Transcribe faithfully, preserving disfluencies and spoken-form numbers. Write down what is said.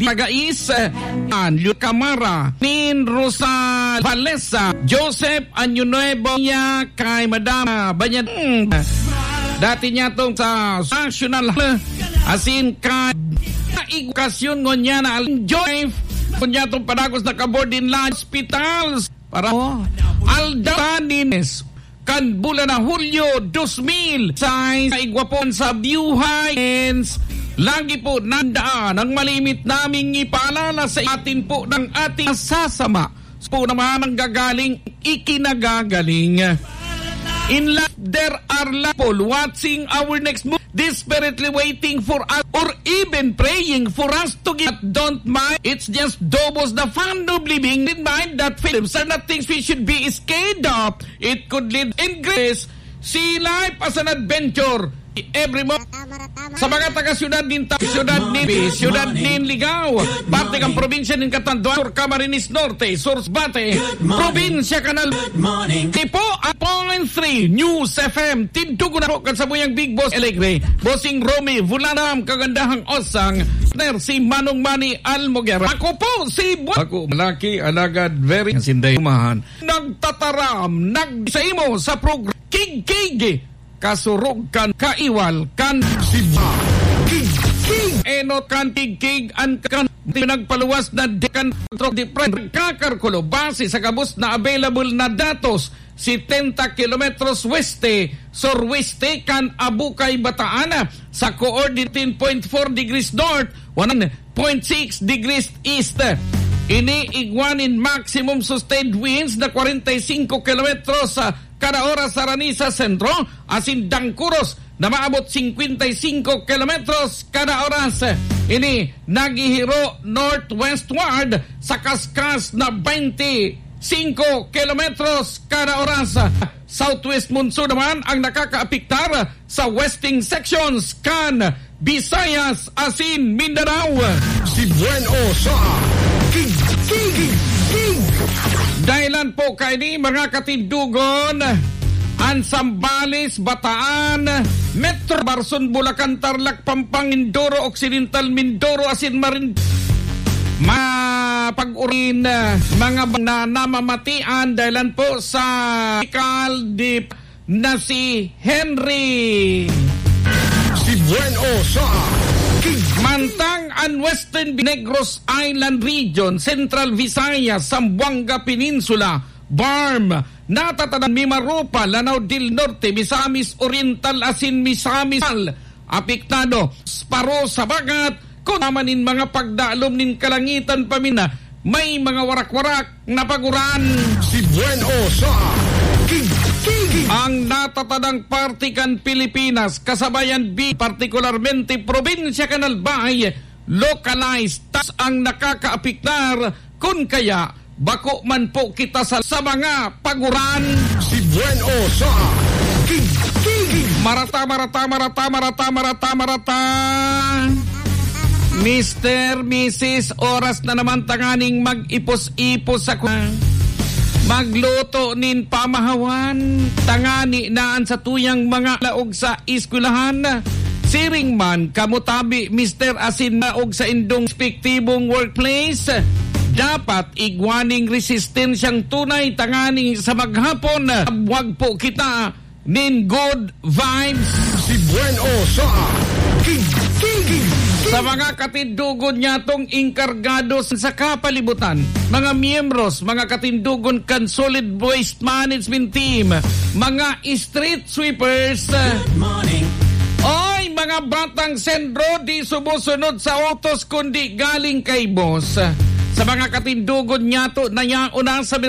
Pagais, eh, an Lucamara, Nin Rosal Valesa, Joseph Año Nuevo, niya kay Madam, ah, Banyan, hmm, dati niya tong sa National, asin ka, edukasyon ngunyan na Alan Joseph, ngunyan tong padagos na kabord in la hospitals, para Aldaw Tanines, kan bulan na Hulyo dos mil sais, sa igwa po sa Buhay. Lagi po nandaan ang malimit naming ipaalala sa atin po ng ating masasama po naman ang gagaling, ikinagagaling. In life, there are people watching our next move, desperately waiting for us, or even praying for us to give. But don't mind, it's just doubles the fun of living. In mind that films are not things we should be scared of. It could lead in grace. See life as an adventure. Every mo sa mga taga-syudad nin Ta-, syudad nin, syudad nin Ligao, parte kan probinsya nin Catanduanes, Sur Camarines Norte, Sur Bate, probinsya kan Albay. Tipo, a point three News F M, tindugo na po kan sabuyang Big Boss Alegre, Bossing Romy Vulanam, kagandahang osang, partner si Manong Manny Almoguera. Ako po si Bu-, ako, malaki, alagad, very, sinday, umahan. Nagtataram, nag-, sa imo sa progr-, Kigkig, kasurog kan kaiwal kan Siba. Kigkig. Enot kan Kigkig an kan pinagpaluwas na di kan Trok de Pre. Kakarkulo, base sa gabos na available na datos, setenta kilometros weste, surweste kan Abukay, Bataan, sa coordinate point four degrees north, one point six degrees east. Ini igwa nin maximum sustained winds na kwarenta y singko kilometros, ah, kada oras sa Ranisa Sentro, asin dangkuros na maabot singkwenta y singko kilometros kada oras. Ini naghihiro northwestward sa kaskas na baynte singko kilometros kada oras. Southwest monsoon naman ang nakakaapektar sa western sections kan Visayas asin Mindanao. Si Buen O sa Kigkig. Dahilan po kaini, mga katindugon, an Zambales, Bataan, Metro, Barzon, Bulacan, Tarlac, Pampanga, Mindoro Occidental, Mindoro asin Marin-, mapag-urin, mga ba-, na namamatian dahilan po sa Kaldi na si Henry. Si Buen O sa Kig- Mantang an Western Negros Island Region, Central Visayas, Zamboanga Peninsula, BARMM, natatadan Mimaropa, Lanao del Norte, Misamis Oriental asin Misamis Oriental, apektado, paro sa bagat, kun naman in mga pagdalom nin kalangitan paminda, may mga warak-warak na paguran. Si Buen O sa Kigkig. Ang natatadang parte kan Pilipinas, kasabayan bi-, partikularmente probinsya kan Albay, localized tas ang nakakaapektar, kun kaya bako man po kita sa, sa mga paguran. Si Buen O sa Kigkig. Marata, marata, marata, marata, marata, marata. Mister, Misis, oras na naman tanganing mag-ipos-ipos sa ku-, magluto nin pamahawan. Tangani na an satuyang mga laog sa eskwelahan. Siring man kamo tabi, Mister, asin laog sa indong respektibong workplace. Dapat igwa ning resistensyang tunay tangani sa maghapon. Wag po kita nin good vibes. Si Buen O sa Kigkig. Sa mga katindugon nyatong inkargado sa kapalibutan, mga miyembros, mga katindugon kan Solid Waste Management Team, mga street sweepers. Good morning. Oy, mga batang sendro, di sumusunod sa utos kundi galing kay boss. Sa mga katindugon nyato na yaon na sa